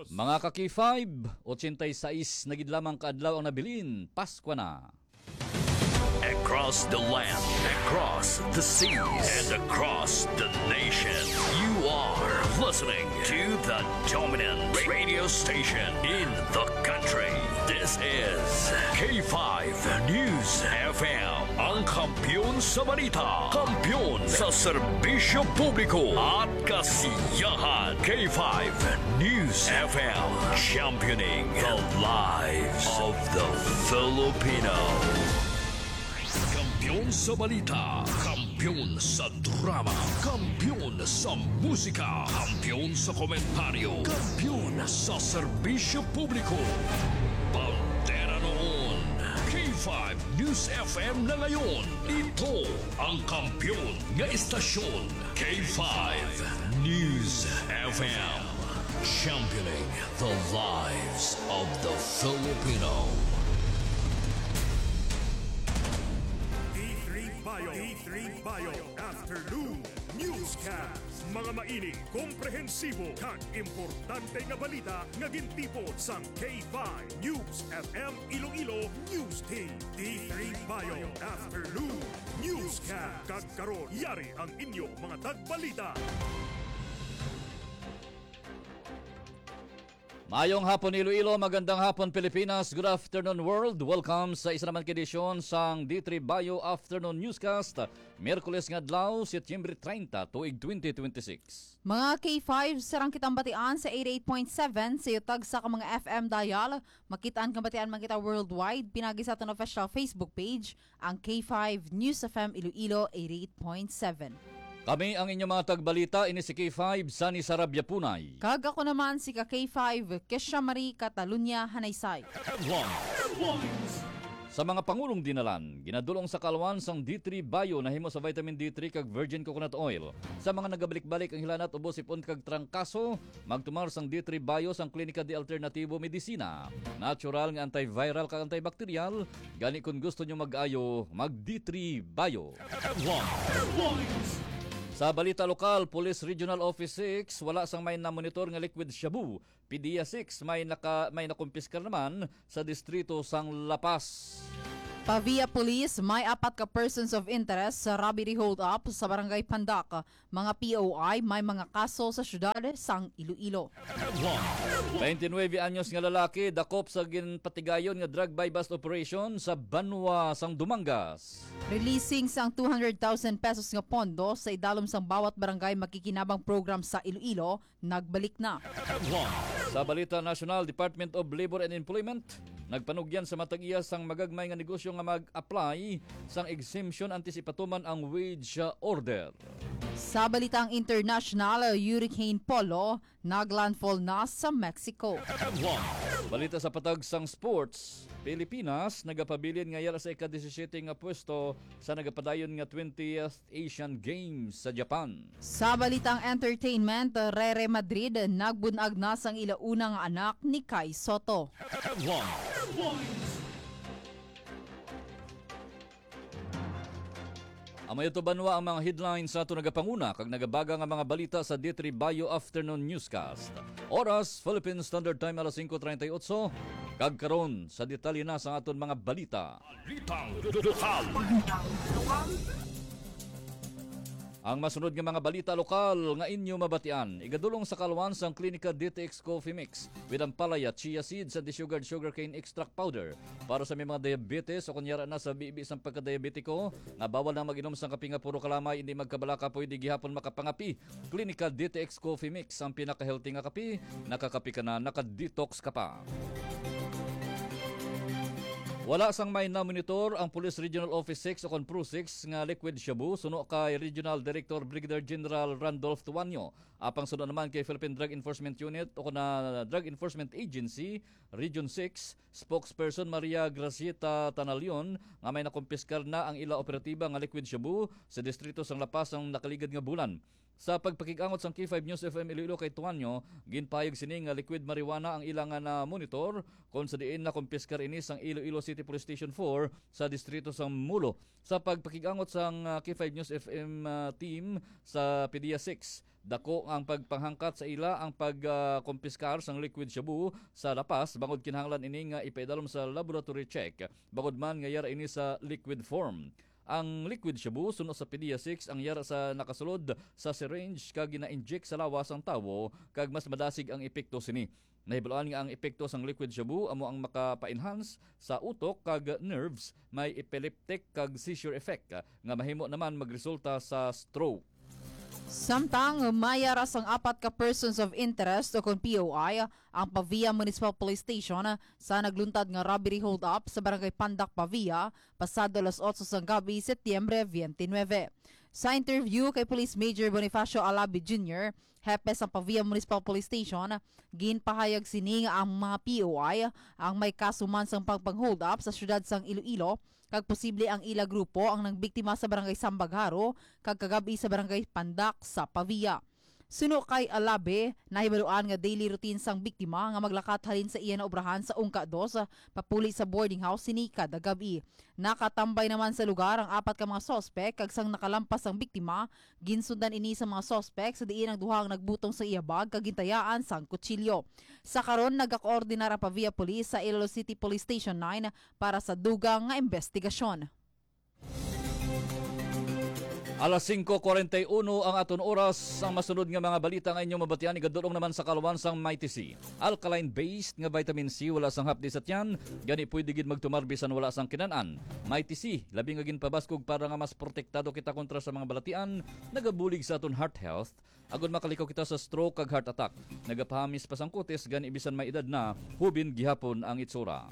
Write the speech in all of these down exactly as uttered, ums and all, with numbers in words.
Mga ka-K five, ochenta y seis na gid lamang ka adlaw ang nabilin, Paskwa na. Across the land, across the seas, and across the nation, you are listening to the dominant radio station in the country. This is K five News F M, ang kampiyon sa balita, kampiyon sa serbisyo publiko at kasiyahan. K five News F M, championing the lives of the Filipino. Kampiyon sa balita, kampiyon sa drama, kampiyon sa musika, kampiyon sa komentaryo, kampiyon sa serbisyo publiko. Bandera noon, K five News F M na ngayon. Ito ang kampiyon nga istasyon, K five News F M. Championing the lives of the Filipino. D three Bio. D three Bio Afternoon Newscast. Mga mainit, komprehensibo, kag importante nga balita nga gintipon sang K five News F M Iloilo News Team. D three Bio Afternoon Newscast. Kag karon, yari ang inyo mga tagbalita. Mayong hapon, Iloilo. Magandang hapon, Pilipinas. Good afternoon, world. Welcome sa isa naman ka edisyon sang D three Bio Afternoon Newscast. Miyerkules nga adlaw, Setyembre treinta, tuig twenty twenty-six. Mga K five, sarang kitang batian sa eighty-eight point seven sa iyo tagsa ka mga F M dial. Makit-an kang batian man kita worldwide, pinagi sa aton official Facebook page, ang K five News F M Iloilo eighty-eight point seven. Kami ang inyong mga tagbalita, ini si K five, Sunny Sarabia Punay. Kag ako naman si ka K five, Kesha Marie Catalunya Hanaysay. Headlines. Sa mga pangulong dinalan, ginadulong sa kalwan sang D three Bio nahimo sa vitamin D three kag virgin coconut oil. Sa mga nagabalik-balik ang hilanat, ubo, sipon kag trangkaso, magtumar sang D three Bio sang Klinika de Alternativo Medicina. Natural nga antiviral kag antibacterial, gani kon gusto nyo mag-ayo, mag D three Bio. Headlines. Sa balita lokal, Police Regional Office six, wala sang may namonitor nga liquid shabu. PDEA six, may naka-, may nakumpiskar naman sa distrito sang La Paz. Pavia Police, may apat ka persons of interest sa robbery hold-up sa Barangay Pandak. Mga P O I, may mga kaso sa siyudad sang Iloilo. Twenty-nueve anyos nga lalaki dakop sa ginpatigayon nga drug buy-bust operation sa banwa sang Dumangas. Releasing sang two hundred thousand pesos nga pondo sa idalom sang bawat barangay makikinabang program sa Iloilo, nagbalik na. Sa balita nasyonal, Department of Labor and Employment nagpanugyan sa matag-iya sang magagmay nga negosyo nga mag-apply sang exemption antes ipatuman ang wage order. Sa balitang international, Hurricane Polo naglandfall na sa Mexico. Balita sa patag sang sports, Pilipinas nagapabilin nga yara sa ika-disisiyete nga pwesto sa nagapadayon nga twentieth Asian Games sa Japan. Sa balitang entertainment, Rere Madrid nagbunag na sang ila una nga anak ni Kai Soto. Headlines. Amay ito banwa ang mga headlines sa ato nagapanguna kag nagabaga nga mga balita sa D three Bio Afternoon Newscast. Oras, Philippine Standard Time, alas singko treinta y ocho. Kag karon, sa detalye na sa aton mga balita. Balitang lokal. Ang masunod nga mga balita lokal nga inyo mabatian, igadulong sa kalwan sang Klinika D T X Coffee Mix with ampalaya, chia seeds, and the sugared sugarcane extract powder. Para sa may mga diabetes o kunyara na sa bibi sang pagkadiabetiko, nga bawal na mag-inom sang kape nga puro kalamay, hindi magkabalaka, pwede gihapon makapangape. Klinika D T X Coffee Mix, ang pinaka-healthy nga kape. Nakakape ka na, naka-detox ka pa. Wala sang may namonitor ang Police Regional Office six o kon PRO six nga liquid shabu, suno kay Regional Director Brigadier General Randolph Tuanyo. Apang suno naman kay Philippine Drug Enforcement Unit o kon na Drug Enforcement Agency, Region six, spokesperson Maria Gracieta Tanalion, nga may nakumpiskar na ang ila operatiba nga liquid shabu sa distrito sang La Paz ang nakaligad nga bulan. Sa pagpakig-angot sang K five News F M Iloilo kay Tuanyo, ginpahayag sini nga liquid marijuana ang ila nga na-monitor, kon sa diin nakumpiskar ini sang Iloilo City Police Station four sa distrito sang Mulo. Sa pagpakig-angot sang, ah, K five News F M, ah, team sa PDEA six, dako ang pagpanghangkat sa ila ang pag, ah, kumpiskar sang liquid shabu sa La Paz, bangod kinahanglan ini nga ipaidalom sa laboratory check, bangod man nga yara ini sa liquid form. Ang liquid shabu, suno sa PDEA six, ang yara sa nakasulod sa syringe kag gina-inject sa lawas sang tawo, kag mas madasig ang epekto sini. Nahibaluan nga ang epekto sang liquid shabu amo ang makapa-enhance sa utok kag nerves, may epileptic kag seizure effect, nga mahimo naman magresulta sa stroke. Samtang may yara sang apat ka persons of interest o kon P O I ang Pavia Municipal Police Station sa nagluntad nga robbery hold-up sa Barangay Pandak, Pavia, pasado alas otso sang gabi, Setyembre twenty-nine. Sa interview kay Police Major Bonifacio Alabi Junior, hepe sang Pavia Municipal Police Station, ginpahayag sini nga ang mga P O I ang may kaso man sang pagpang-hold-up sa siyudad sang Iloilo, kag posible ang ila grupo ang nangbiktima sa Barangay Sambagharo kag kagab-i sa Barangay Pandak sa Pavia. Suno kay Alabe, nahibaluan nga daily routine sang biktima nga maglakat halin sa iya na obrahan sa Ungka Dos papuli sa boarding house sini kada gab-i. Nakatambay naman sa lugar ang apat ka mga suspek, kag sang nakalampas ang biktima, ginsundan ini sa mga suspek sa diin ang duha ang nagbutong sa iya bag kag gintayaan sang kutsilyo. Sa karon, nagakoordinar ang Pavia Police sa Iloilo City Police Station nine para sa dugang nga investigasyon. Alas singko kuwarenta y uno ang aton oras. Ang masunod nga mga balita nga inyong mabatian igadulong naman sa kaluwan sang Mighty C. Alkaline-based nga vitamin C, wala sang hapdi sa tiyan, gani pwede gid magtumar bisan wala sang kinan-an. Mighty C, labi nga ginpabaskog para nga mas protektado kita kontra sa mga balatian, nagabulig sa aton heart health, agod makalikaw kita sa stroke kag heart attack. Nagapahamis pa sang kutis, gani bisan may edad na, hubin gihapon ang itsura.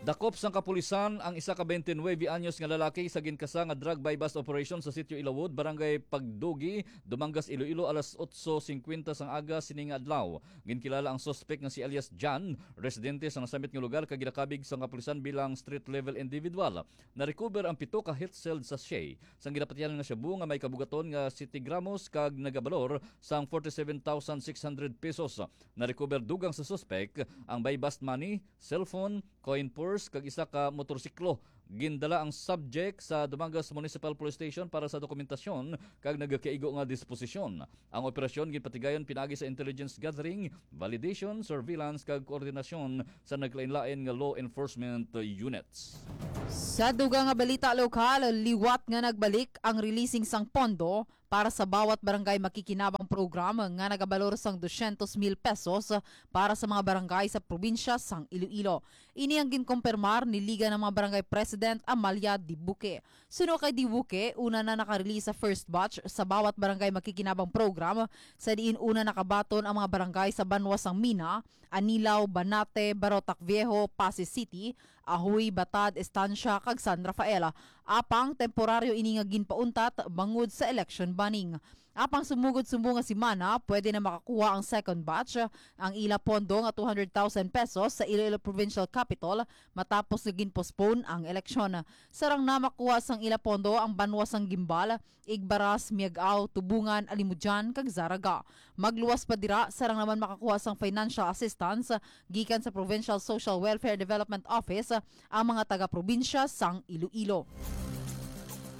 Dakop sang kapulisan ang isa ka twenty-nine anyos nga lalaki sa ginkasa nga drug buy-bust operation sa Sitio Ilawod, Barangay Pagdugi, Dumangas, Iloilo, alas otso singkwenta sang aga sini nga adlaw. Ginkilala ang suspek nga si alias John, residente sa nasambit nga lugar, kag ginakabig sang kapulisan bilang street-level individual. Na-recover ang pito ka heat-sealed sachet sang ginapatihan nga shabu nga may kabugaton nga siyete gramos kag nagabalor sang forty-seven thousand six hundred pesos. Na-recover dugang sa suspek ang buy-bust money, cellphone, coin purse, kag isa ka motorsiklo. Gindala ang subject sa Dumangas Municipal Police Station para sa dokumentasyon kag nagakaigo nga disposisyon. Ang operasyon ginpatigayon pinaagi sa intelligence gathering, validation, surveillance, kag koordinasyon sa naglain-lain nga law enforcement units. Sa dugang nga balita lokal, liwat nga nagbalik ang releasing sang pondo para sa bawat barangay makikinabang program nga nagabalor sang dosyentos mil pesos para sa mga barangay sa probinsya sang Iloilo. Ini ang ginkumpirmar ni Liga ng mga Barangay President Amalia Dibuque. Suno kay Dibuque, una na nakarelease sa first batch sa bawat barangay makikinabang program, sa diin una nakabaton ang mga barangay sa banwa sang Mina, Anilao, Banate, Barotac Viejo, Passi City, Ajuy, Batad, Estancia, kag San Rafael. Apang temporaryo ini nga ginpauntat bangod sa election banning. Apang sumugod sumo nga semana, pwede na makakuha ang second batch ang ila pondo nga two hundred thousand pesos sa Iloilo Provincial Capitol matapos nga gin-postpone ang eleksyon. Sarang na makuha sang ila pondo ang banwa sang Guimbal, Igbaras, Miag-ao, Tubungan, Alimodian, kag Zarraga. Magluwas pa dira, sarang naman makakuha sang financial assistance gikan sa Provincial Social Welfare Development Office ang mga taga-probinsya sang Iloilo.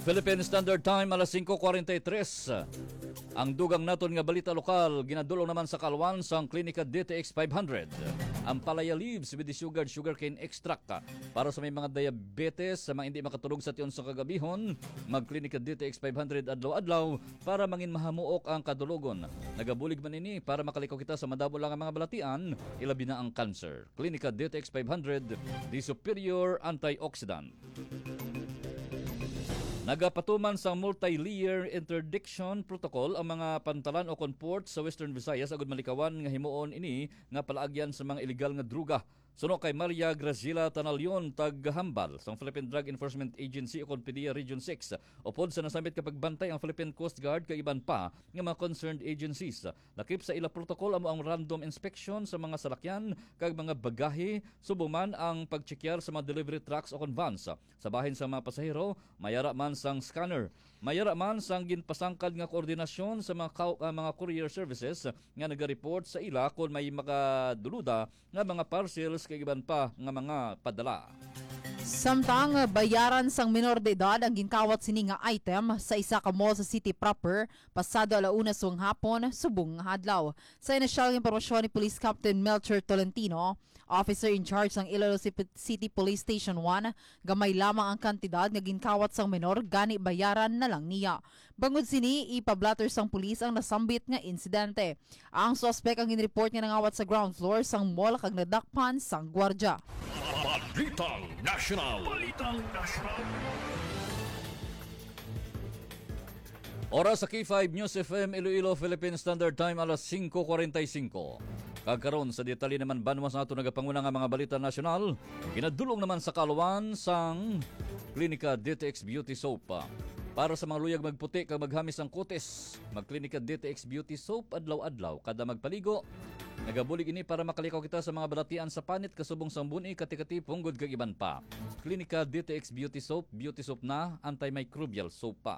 Philippine Standard Time, alas singko kuwarenta y tres. Ang dugang naton nga balita lokal, ginadulong naman sa kaluwan sang Klinika D T X five hundred. Ang palaya leaves with the sugared sugarcane extract para sa may mga diabetes, sa mga hindi makatulog sa tion sa kagabihon, mag-Klinika D T X five hundred adlaw-adlaw para mangin mahamuok ang kadulogon. Nagabulig man ini para makalikaw kita sa madamo lang nga mga balatian, ilabi na ang cancer. Klinika D T X five hundred, the superior antioxidant. Nagapatuman sang multi-layer interdiction protocol ang mga pantalan o kon port sa Western Visayas agud malikawan nga himuon ini nga palaagyan sa mga iligal nga droga. Suno kay Maria Graciela Tanalion, taga-hambal sang Philippine Drug Enforcement Agency o kon PDEA Region six, upod sa nasambit nga pagbantay ang Philippine Coast Guard kag iban pa nga mga concerned agencies. Lakip sa ila protocol amo ang random inspection sa mga salakyan kag mga bagahe, subong man ang pagtsekyar sa mga delivery trucks o kon vans. Sa bahin sa mga pasahero, may ara man sang scanner. Mayara man sang ginpasangkad nga koordinasyon sa mga kau-, ah, mga courier services nga nagareport sa ila kon may makaduluda nga mga parcels kag iban pa nga mga padala. Samtang bayaran sang menor de edad ang ginkawat sini nga item sa isa ka mall sa city proper pasado ala una sang hapon subong nga adlaw. Sa inisyal nga impormasyon ni Police Captain Melchor Tolentino, officer in charge sang Iloilo Cip-, City Police Station one, gamay lamang ang kantidad nga ginkawat sang menor, gani bayaran na lang niya. Bangod sini, ipa-blotter sang pulis ang nasambit nga insidente. Ang suspek ang ginreport nga nangawat sa ground floor sang mall kag nadakpan sang gwardya. Balitang National. Balitang National. Oras sa K five News F M Iloilo, Philippine Standard Time, alas singko kwarenta y singko. Kag karon sa detalye naman, banwa sa ato nagapanguna nga mga balita nasyonal, ginadulong naman sa kaluan sang Klinika D T X Beauty Soap. Para sa mga luyag magputi kag maghamis ang kutis, magklinika D T X Beauty Soap adlaw-adlaw kada magpaligo. Nagabulig ini para makalikaw kita sa mga balatian sa panit kasubong sang buni, kati-kati, punggod kag iban pa. Klinika D T X Beauty Soap, beauty soap na, antimicrobial soap pa.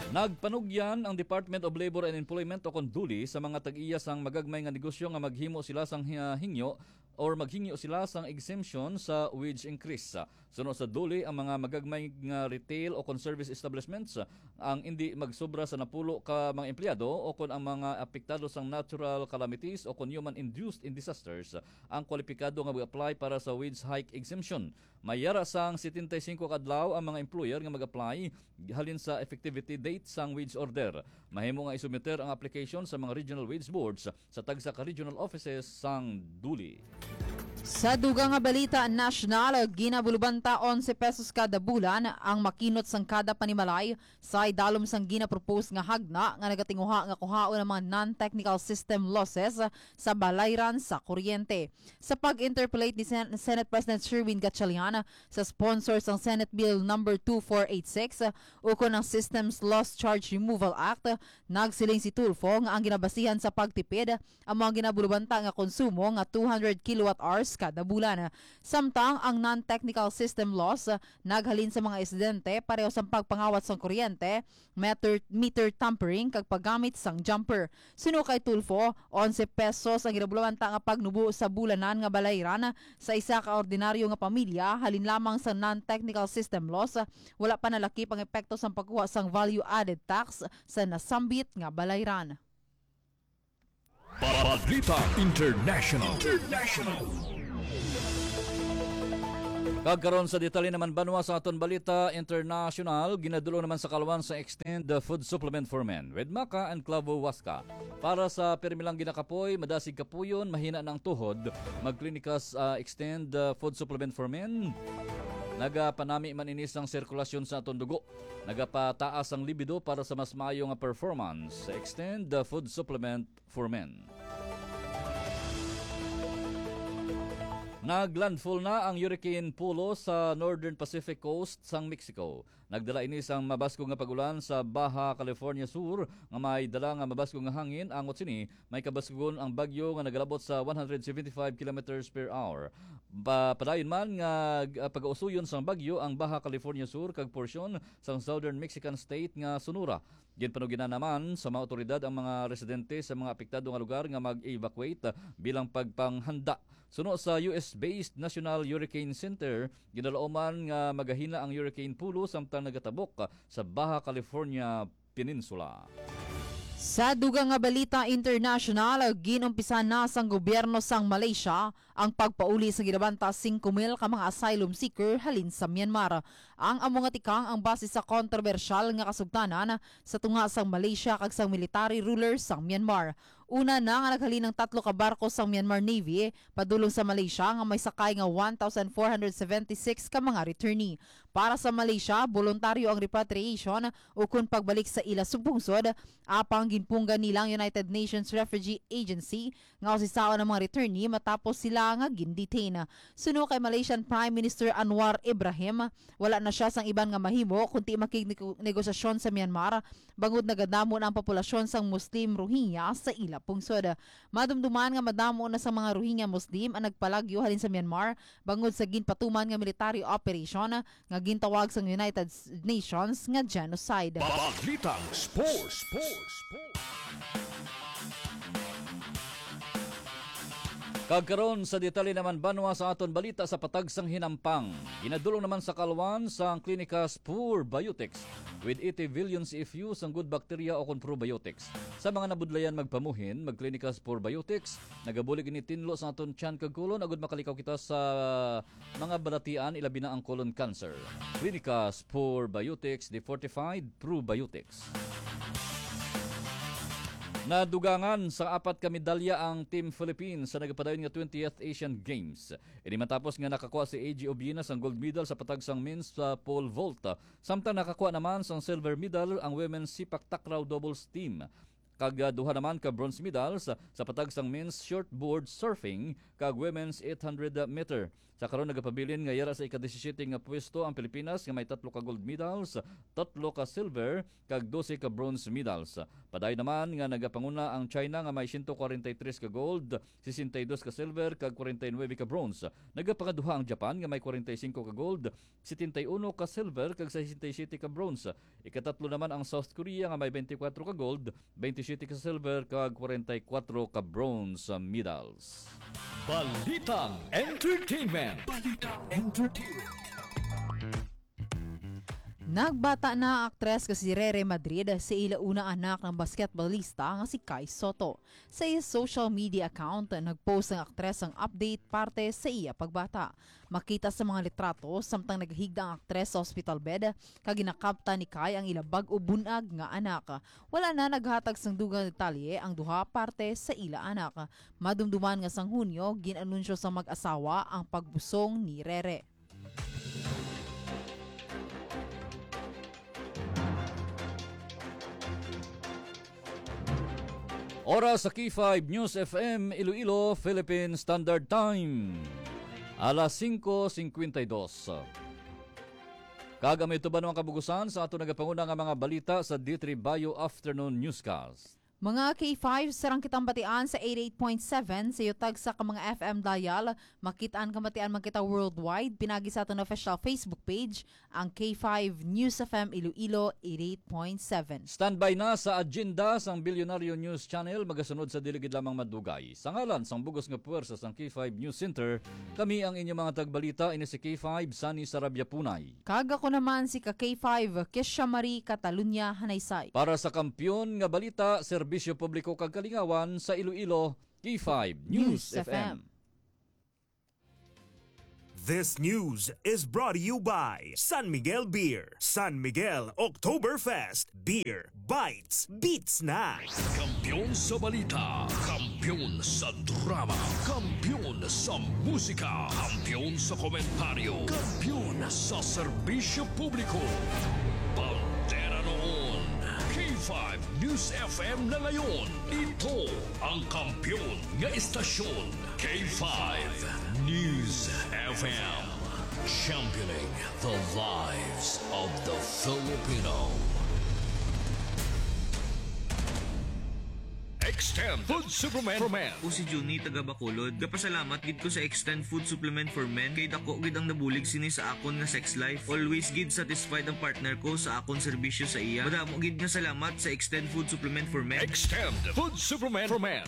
Nagpanugyan ang Department of Labor and Employment o kon DOLE sa mga tag-iya sang magagmay nga negosyo nga maghimo sila sang hi-, hingyo or maghingyo sila sang exemption sa wage increase. Suno sa DOLE, ang mga magagmay nga retail o kon service establishments ang indi magsobra sa napulo ka mga empleyado o kon ang mga apektado sang natural calamities o kon human-induced disasters ang kwalipikado nga mag-apply para sa wage hike exemption. May yara sang setenta y singko ka adlaw ang mga employer nga mag-apply halin sa effectivity date sang wage order. Mahimo nga isubmiter ang application sa mga regional wage boards sa tagsa ka regional offices sang DOLE. Sa dugang nga balita nasyonal, ginabulubanta onse pesos kada bulan ang makinot sang kada panimalay sa idalom sang ginapropose nga hagna nga nagatinguha nga kuhaon ang mga non-technical system losses sa balayran sa kuryente. Sa pag-interpolate ni Sen-, Senate President Sherwin Gatchalian sa sponsor sang Senate Bill number two four eight six, ukon ang Systems Loss Charge Removal Act, nagsiling si Tulfo nga ang ginabasihan sa pagtipid ang mga ginabulubanta nga konsumo nga two hundred kilowatt hours kada bulan. Samtang ang non-technical system loss naghalin sa mga insidente pareho sa pagpangawat sang kuryente, meter, meter tampering kag paggamit sang jumper. Suno kay Tulfo, onse pesos ang ginabulubanta nga pagnubo sa bulanan nga balayran sa isa ka ordinaryo nga pamilya halin lamang sa non-technical system loss. Wala pa nalakip ang epekto sang pagkuha sang value-added tax sa nasambit nga balayran. Balita International. International. Kag karon sa detalye naman, banwa sa aton balita international, ginadulong naman sa kaluan sa Extend the Food Supplement for Men with Maca and Clavo Huasca. Para sa pirmi lang ginakapoy, madasig kapuyon, mahina na ang tuhod, magklinika sa Extend the Food Supplement for Men. Nagapanami man ini sang sirkulasyon sa aton dugo. Nagapataas ang libido para sa mas maayo nga performance. Extend the Food Supplement for Men. Naglandfall na ang Hurricane Polo sa Northern Pacific Coast sang Mexico. Nagdala ini sang mabaskog nga pag-ulan sa Baja California Sur nga may dala nga mabaskog nga hangin. Angot sini, may kabaskugon ang bagyo nga nagalabot sa one hundred seventy-five kilometers per hour. Pa-, padayon man nga, ah, pagausuyon sang bagyo ang Baja California Sur kag porsyon sang southern Mexican state nga Sonora. Ginpanugyan naman sa mga awtoridad ang mga residente sa mga apektado nga lugar nga mag-evacuate, ah, bilang pagpanghanda. Suno sa U S-based National Hurricane Center, ginalauman nga magahina ang Hurricane Polo samtang nagatabok, ah, sa Baja California Peninsula. Sa dugang nga balita international, ginumpisa na sang gobyerno sang Malaysia ang pagpauli sa ginabanta singko mil ka mga asylum seeker halin sa Myanmar. Ang amo nga tikang ang base sa kontrobersyal nga kasugtanan sa tunga sang Malaysia kag sang military ruler sang Myanmar. Una na nga naghalin ang tatlo ka barko sang Myanmar Navy padulong sa Malaysia nga may sakay nga one thousand four hundred seventy-six ka mga returnee. Para sa Malaysia, boluntaryo ang repatriation ukon pagbalik sa ila subong-sod, apang ginpunggan nila ang United Nations Refugee Agency nga usisaon ang mga returnee matapos sila nga gin-detain. Suno kay Malaysian Prime Minister Anwar Ibrahim, wala na siya sang iban nga mahimo kundi makignegosasyon sa Myanmar bangod nagadamo na ang populasyon sang Muslim Rohingya sa ila pungsod. Madumduman nga madamo na sa mga Rohingya Muslim ang nagpalagyo halin sa Myanmar bangod sa ginpatuman nga military operation nga gintawag sang United Nations nga genocide. Balitang Sports. Kag karon sa detalye naman, banwa, sa aton balita sa patag sang hinampang. Ginadulong naman sa Caloocan sang Clinicas Probiotics with eighty billion C F U sang good bacteria o kon probiotics. Sa mga nabudlayan magpamuhin, mag-Clinicas Probiotics. Nagabulig ini tinlo sa aton tiyan kag kolon agud makalikaw kita sa mga balatian, ilabi na ang colon cancer. Clinicas Probiotics, the fortified probiotics. Nadugangan sa apat ka medalya ang Team Philippines sa nagapadayon nga twentieth Asian Games. Ini matapos nga nakakuha si A G Obina sang gold medal sa patag sang men's, ah, pole vault. Samtang nakakuha naman sang silver medal ang women's sipak takraw doubles team. Kag, ah, duha naman ka bronze medals sa patag sang men's shortboard surfing kag women's eight hundred meter. Sa karon nagapabilin nga yara sa ika-disisiete nga pwesto ang Pilipinas nga may tatlo ka gold medals, tatlo ka silver, kag dose ka bronze medals. Padayon naman nga nagapanguna ang China nga may siyento kwarenta y tres ka gold, sesenta y dos ka silver, kag kwarenta y nuebe ka bronze. Nagapangaduha ang Japan nga may kwarenta y singko ka gold, setenta y uno ka silver, kag sesenta y siyete ka bronze. Ikatatlo naman ang South Korea nga may bente kwatro ka gold, bente siyete ka silver, kag kwarenta y kwatro ka bronze medals. Balitang Entertainment. Balitang Entertainment. Nagbata na ang aktres nga si Rere Madrid sa ila unang anak nga basketballista nga si Kai Sotto. Sa iya social media account, nag-post ang aktres sang update parte sa iya pagbata. Makita sa mga litrato, samtang nagahigda ang aktres sa hospital bed, kag ginakaptan ni Kai ang ila bag-o bunag nga anak. Wala na naghatag sang dugang detalye ang duha parte sa ila anak. Madumduman nga sang Hunyo, gin-anunsyo sa mag-asawa ang pagbusong ni Rere. Oras sa K five News F M Iloilo, Philippine Standard Time. Alas singko singkwenta y dos. Kag amo ito ba ang kabugusan sa ato nagapanguna nga mga balita sa D three Bio Afternoon Newscast. Mga K five, sarang kitang batian sa eighty-eight point seven sa iyo tagsa ka mga F M dial. Makit-an ka batian man kita worldwide, pinagi sa aton official Facebook page, ang K five News F M Iloilo eighty-eight point seven. Standby na sa agenda sang Bilyonaryo News Channel, magasunod sa dili gid lamang madugay. Sa ngalan sang bugos nga puwersa sang K five News Center, kami ang inyo mga tagbalita, ini si K five, Sunny Sarabia Punay. Kag ako naman si ka K five, Kesha Marie Catalunya Hanaysay. Para sa Kampiyon nga Balita, Serbisyo Publiko kag Kalingawan sa Iloilo, K five News News F M. F M. This news is brought to you by San Miguel Beer. San Miguel Oktoberfest. Beer bites, beats na. Kampiyon sa balita, kampiyon sa drama, kampiyon sa musika, kampiyon sa komentaryo, kampiyon sa serbisyo publiko. Bandera noon, K five News F M na ngayon. Ito ang kampiyon nga estasyon. K five News F M, championing the lives of the Filipino. Extend Food Supplement for Men. Ako si Junie, taga Bacolod. Gapasalamat gid ko sa Extend Food Supplement for Men kay dako gid ang nabulig sini sa akon nga sex life. Always gid satisfied ang partner ko sa akon serbisyo sa iya. Madamo gid nga salamat sa Extend Food Supplement for Men. Extend Food Supplement for Men.